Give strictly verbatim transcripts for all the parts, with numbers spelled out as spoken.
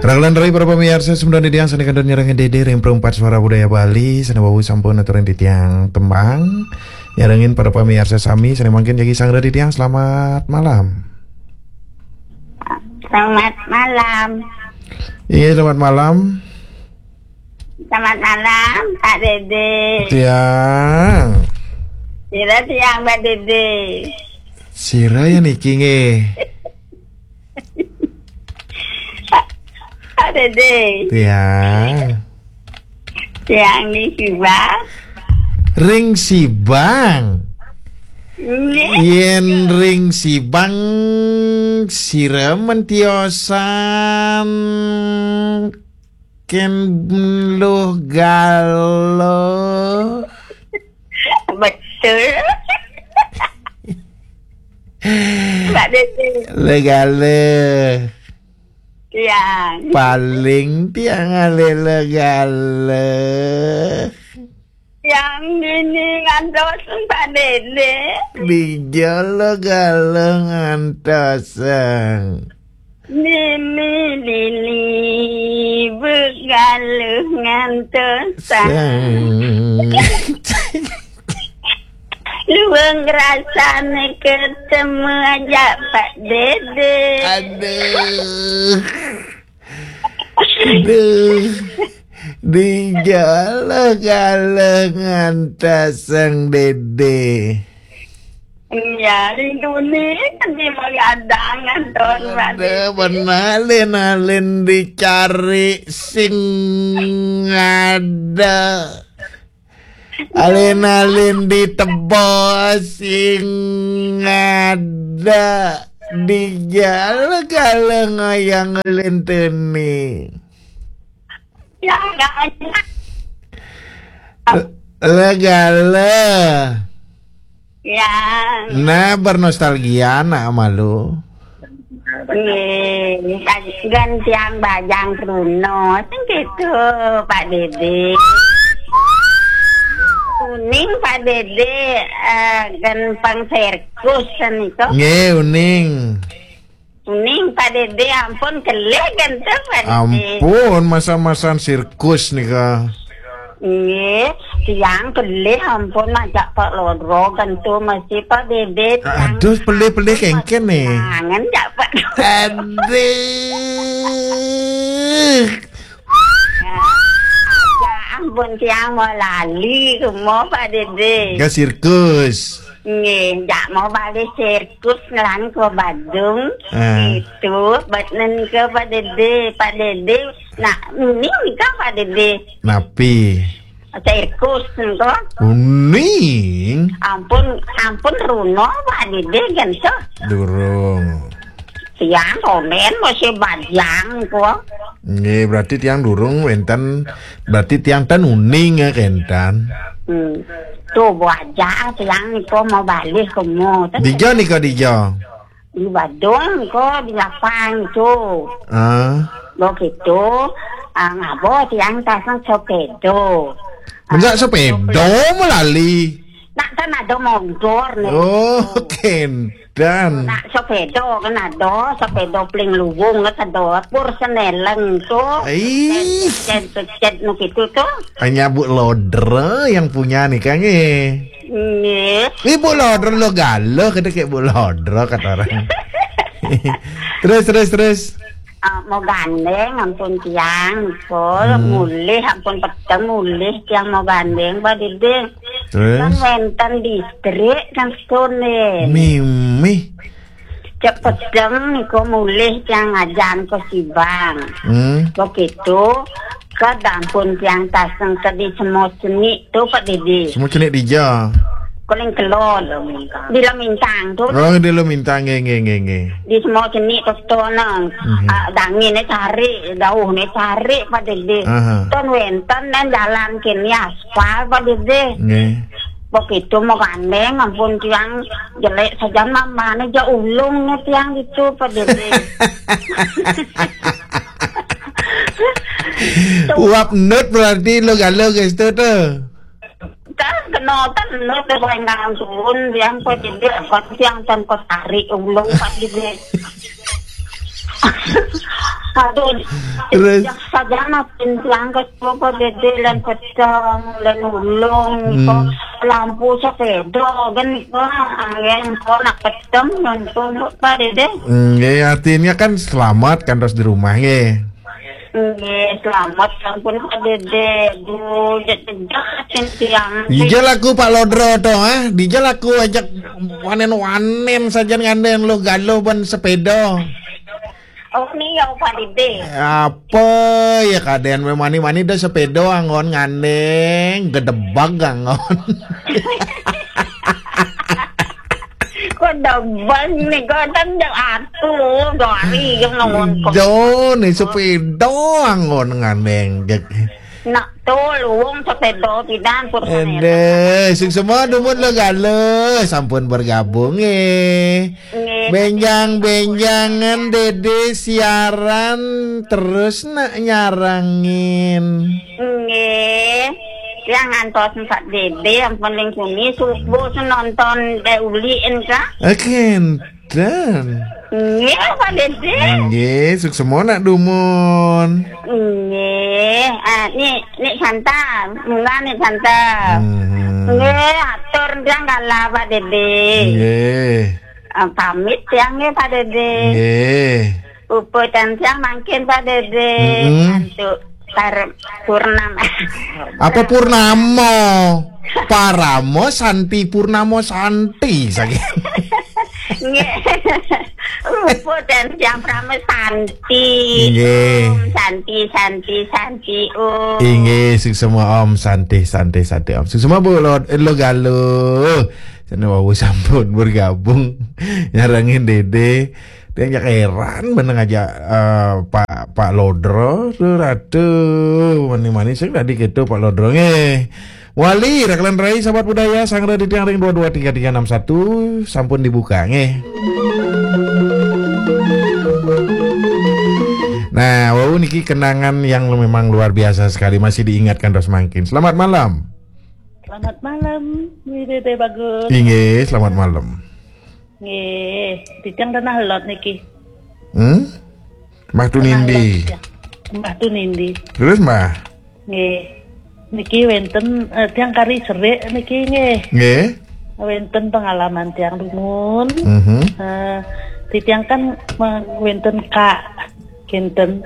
Raghalan rai para pamiarsa, semeton titiang sané kantun nyarengin Dédé ring Perempat Suara Budaya Bali, sané wau sampun aturin titiang tembang. Nyarengin para pamiarsa sami sané mangkin jagi sangra titiang, selamat malam. Selamat malam. Iya, selamat malam. Selamat malam, Pak Dédé. Tiang. Sira tiang, Pak Dédé. Sira ya niki nggih. Pak Dédé. Tiang. Tiang niki, Bang. Ring Sibang. Nggih. Yén ring Sibang sira mentiosan kén luh galuh. Betul. Pak Dédé. Luh galuh. Tiang. Paling tiang alih luh galuh. Tiang dini ngantos Pak Dédé. Dija luh galuh ngantos. Mimi dini begaluh ngantos. Sang. Luwung rasané ketemu aja Pak Dédé. Aduh. Aduh. Dija luh galuh ngantos Sang Dédé. Iya, rinduné kan di mari ada ngantos Pak Dédé. Ada, bener, alin-alin dicari sing ada. Alin-alin ditebos sing ada. Dija luh galuh ngayang lenteni. Ya, enggak enak. Luh galuh. Ya. Nah, bernostalgia nak malu. Nggih, gantian bajang Bruno, sing gitu, Pak Dédé. Uning, Pak Dédé, eh, gempeng sirkus niku. Nggih, uning. Uning, Pak Dédé, ampun kelih genteng, Pak Dédé. Ampun, masa-masan sirkus nika. Nggih, tiang kelih ampun majak Pak Lodro, gentu mesti Pak Dédé, tiang. Aduh, pelih-pelih kéngkén nih. Kangen jak Pak Lodro. Aduh. Ya, ya ampun, tiang mau lali, kumo Pak Dédé. Ke sirkus. Nggih, jak mau balik sirkus ngelan ke Badung. Ah. Itu, bat nen ke Pak Dédé, Pak Dédé. Nah, ini nika Pak Dédé. Napi? Sirkus nika. Uning. Ampun, ampun Runo Pak Dédé gentu. Durung. Tiang konen masih bajang kok. Nggih, berarti tiang durung wénten, berarti tiang ten uning ya kénten. Hmm. Tuh, bajang tiang niku mau balik kumo. Dija nika dija? Di Badung kok, di lapang tuh. Ah. Begitu, ah, ngabo tiang tasang sepeda. Enggak sepeda melali. Nak kan ada motor nih. Oh, kénten. Nak sepeda kan ada, sepeda pling luwung kan ada, pur seneleng tuh. Ih. Cet, cet, cet, nu gitu tuh. Hanya Bu Lodra yang punya nih, Kang, eh. Nggih. Ibu Lodra lo galuh, kata kayak Bu Lodra kata orang. Terus, terus, terus. Ah, mau gandeng ampun tiang, Pol. Hmm. Mulih ampun peteng, mulih tiang mau gandeng, Pak Dédé. Terus? Kan wénten distrik kan Stone. Mimih. Cek peteng niku mulih tiang ngajan ke Sibang. Hmm. Begitu, ke dampun tiang taseng ke di Semua Seni tuh, Pak Dédé. Semua Seni dija? Kuling kelon. Di Lemintang tuh. Oh, di Lemintang, nggih, nggih, nggih, nggih. Di Semua Seni tuh, tuh, nang. Mhm. Ah, danginé cari, dauhné cari, Pak Dédé. Aha. Ton wénten nang jalan kini aspal, Pak Dédé. Nggih. Begitu mau gandeng, ampun tiang jelek saja mamane ja ulung nih tiang gitu, Pak Dédé. Uap nut berarti lo galuh ke situ tuh. Kan kena kan nut ke Baingan Sun, tiang Pak Dédé, kan tiang tan kok tarik ulung, Pak Dédé. Aduh, terus? Sejak saja makin langkah coba dede lan pedang, lan ulung, hmm, kok lampu sepeda, kan, wah, angin, kok nak pedang, nonton, Pak Dede. Nggih, artinya kan selamat kan terus di rumah, nggih. Nggih, selamat, ampun, Pak Dede. Duh, jejak, jejak, tiang. Dijal aku Pak Lodro to, ah. Dijal aku ajak wanen-wanen saja ngandeng lo galuh ban sepeda. Oh, ni ya, Pak Dede. Apa ya, kadean memani-mani dah sepeda anggon ngandeng, gedebag anggon. Kok debag ni, kok kan jam atu, dua hari yang ngomong kok. Do ni sepeda anggon ngandeng. Nak tu luwung sepeda pidan pun. Ede, sing semua dumun lo galuh, sampun bergabung, eh. Nggih. Benjang-benjangan Dede siaran terus nak nyarangin. Nggih. Yang ngantos Pak Dede yang paling kuni subuh nonton Dek Uli en, Kak. Akin dan. Nggih, Pak Dede. Nggih, suksema nak dumun. Nggih. Ah, ni, ni Santa, mula ni Santa. Hmm. Nggih, atur tiang kala, Pak Dede. Nggih. Ah, pamit tiang nggih, Pak Dede. Nggih. Uput dan tiang mangkin, Pak Dede. Mm-mm. Antuk par-, purnama. Apa purnama? Paramo Santi, Purnamo Santi, saking. Nggih. Uput dan tiang Prama Santi. Nggih. Om Santi, Santi, Santi, Om. Inggih, suksema Om Santi, Santi, Santi, Om. Suksema Bu Lo, Lo Galuh. Sana wau sampun bergabung. Nyarengin Dede. Dia ajak heran meneng aja, eh, Pak, Pak Lodro, tuh, ratu, mani-mani sing tadi gitu Pak Lodro nggih. Wali, Raglan Rai, sahabat budaya, sangra di tiang ring dua dua tiga tiga enam satu, sampun dibuka nggih. Nah, wau niki kenangan yang memang luar biasa sekali, masih diingatkan terus mangkin. Selamat malam. Selamat malam, Wi Dede Bagus. Inggih, selamat malam. Nggih, titiang tanah lot niki. Hmm? Mbah Tunindi. Tanah lot, ya. Mbah Tunindi. Terus, Mbah? Nggih. Niki wenten, eh, tiang kari serik niki nggih. Nggih. Wenten pengalaman tiang dumun. Mhm. Eh, titiang kan me-, wenten kak kinten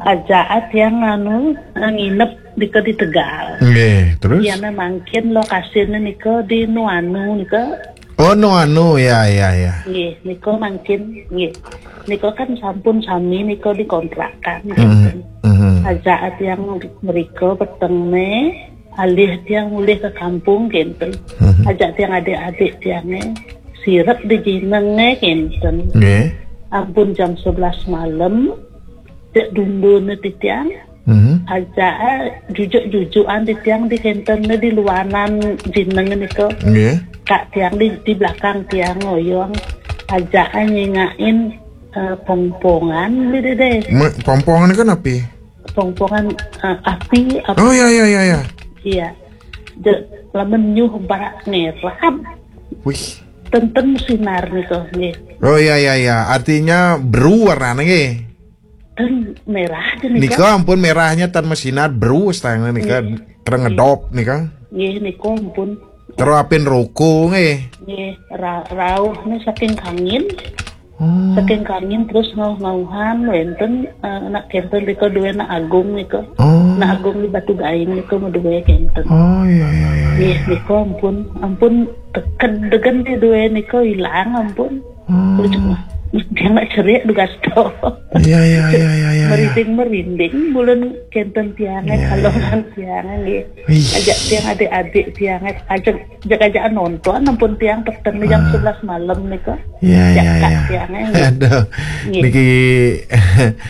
aja tiang anu, eh, nginep di, di Tegal. Nggih, terus? Iya, mangkin lokasine nika di Nuanu nika. Oh, Nuanu, ya, ya, ya. Nggih, nika mangkin, nggih. Nika kan sampun sami nika dikontrakan, mhm, gitu. Mhm. Aja tiang mriko petengne, alih tiang mulih ke kampung, gitu. Mhm. Aja tiang adik-adik tiange sirep di jinenge, gitu. Nggih. Ampun jam sebelas malam, cek dundune titiang. Mhm. Aja, eh, jujuk-jujukan titiang di kenten di luanan jineng nika. Nggih. Kak tiang di, di belakang tiang ngoyong. Aja, eh, nyingakin, eh, pongpongan di dede. Me-, pongpongan kan api? Pongpongan, eh, api, api. Oh, ya, ya, ya, ya. Iya. De, lamun nyuh barak ngerap. Wih. Tenten sinar nika nggih. Oh, ya, ya, ya. Artinya beru warnanya nggih. Kan merah aja nih, nika Kak. Ampun merahnya tan mesinar, berus tayangnya nika, iya, terengedop nika. Iya, nika ampun. Terapin roko nggih. Nggih, ra-, rauhnya saking kangin. Oh. Saking kangin terus ngauh-ngauhan, wenten, eh, anak kenten nika dua anak agung nika. Oh. Anak agung di Batu Gaing nika mau dua kenten. Oh, iya, iya, iya, iya. Nggih, nika ampun, ampun teked degen nih dua nika hilang ampun. Hmm. Terus cuma, dia nggak ceria dugas to. Iya, iya, iya, iya, iya, iya. Merinding-merinding, bulan kenten tiangan, iya, kalau iya, kan tiangan, nggih. Wih. Ajak tiang adik-adik tiangan, ajak, ajak-ajak nonton, ampun tiang peteng jam, ah, sebelas malam nih kok. Iya, iya, iya. Tiangan, nggih. Aduh, nggih, niki,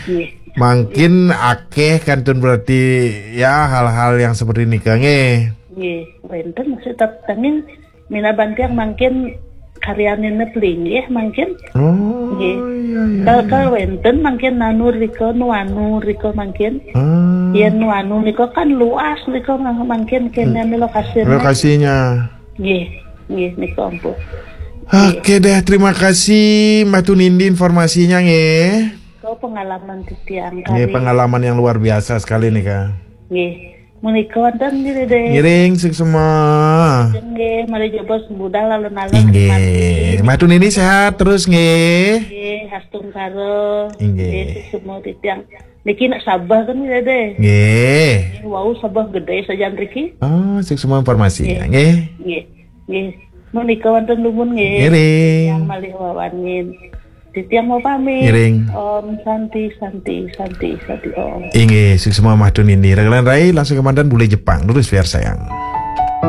nggih, mangkin akeh kantun berarti, ya, hal-hal yang seperti nika, nggih. Nggih, wenten maksud tetengin Mina bantiang mangkin karyanine pelinggih mangkin. Oh, nggih, iya, iya, kal-, iya, kal wenten mangkin nanu rika, nuanu rika mangkin. Ah. Yen nuanu nika kan luas nika mang-, mangkin kene, hmm, lokasine. Lokasinya. Nggih, nggih nika ampun. Oke deh, terima kasih Mbah Tunindi informasinya nggih. Kau Pengalaman titiang. Nggih, kali pengalaman yang luar biasa sekali nih, Kak. Nggih. Menika wonten nggih, Dede. Ngiring, suksma. Nggih, mari jebos budal alun-alun. Inggih. Mah Tun Nini sehat terus nggih. Nggih, hastungkara. Inggih. Nggih, suksma titiang. Niki nak sabeh kan nggih, Dede. Nggih. Nggih, wau sabeh gede sajan riki. Oh, suksma informasi. Nggih. Nggih. Nggih. Nggih. Menika wonten dumun nggih. Ngiring. Yang malih wawangin. Titiang mau pamit. Ngiring. Om Santi, Santi, Santi, Santi Om. Inggih, suksma Mah Tun Nini. Ragalan rai langsung kemanten bule Jepang. Lurus biar sayang.